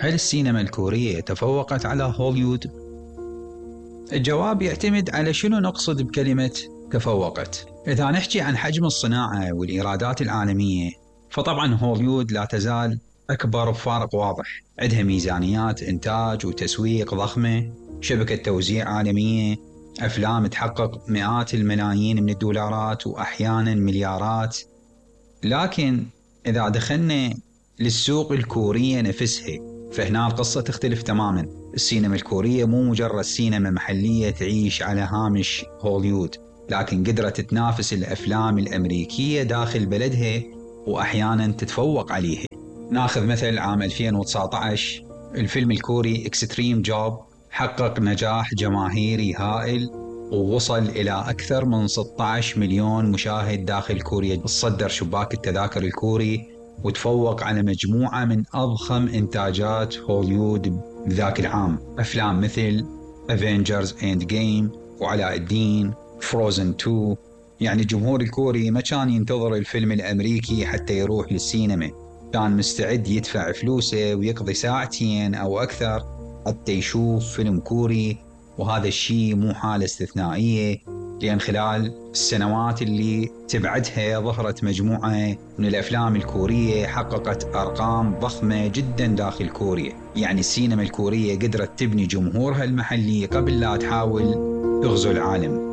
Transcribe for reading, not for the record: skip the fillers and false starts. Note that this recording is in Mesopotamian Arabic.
هل السينما الكورية تفوقت على هوليوود؟ الجواب يعتمد على شنو نقصد بكلمة تفوقت. إذا نحكي عن حجم الصناعة والإيرادات العالمية، فطبعا هوليوود لا تزال أكبر بفارق واضح. عندها ميزانيات إنتاج وتسويق ضخمة، شبكة توزيع عالمية، أفلام تحقق مئات الملايين من الدولارات وأحيانا مليارات. لكن إذا دخلنا للسوق الكورية نفسها، فهنا القصة تختلف تماما. السينما الكورية مو مجرد سينما محلية تعيش على هامش هوليوود، لكن قدرت تنافس الأفلام الأمريكية داخل بلدها وأحيانا تتفوق عليها. ناخذ مثل عام 2019 الفيلم الكوري اكستريم جوب حقق نجاح جماهيري هائل ووصل إلى أكثر من 16 مليون مشاهد داخل كوريا. تصدر شباك التذاكر الكوري وتفوق على مجموعة من أضخم إنتاجات هوليوود بذاك العام، أفلام مثل افنجرز اند جيم وعلاء الدين، فروزن 2. يعني الجمهور الكوري ما كان ينتظر الفيلم الأمريكي حتى يروح للسينما، كان مستعد يدفع فلوسه ويقضي ساعتين أو أكثر حتى يشوف فيلم كوري. وهذا الشيء مو حالة استثنائية، لأن خلال السنوات اللي تبعدها ظهرت مجموعة من الأفلام الكورية حققت أرقام ضخمة جدا داخل كوريا. يعني السينما الكورية قدرت تبني جمهورها المحلي قبل لا تحاول تغزو العالم.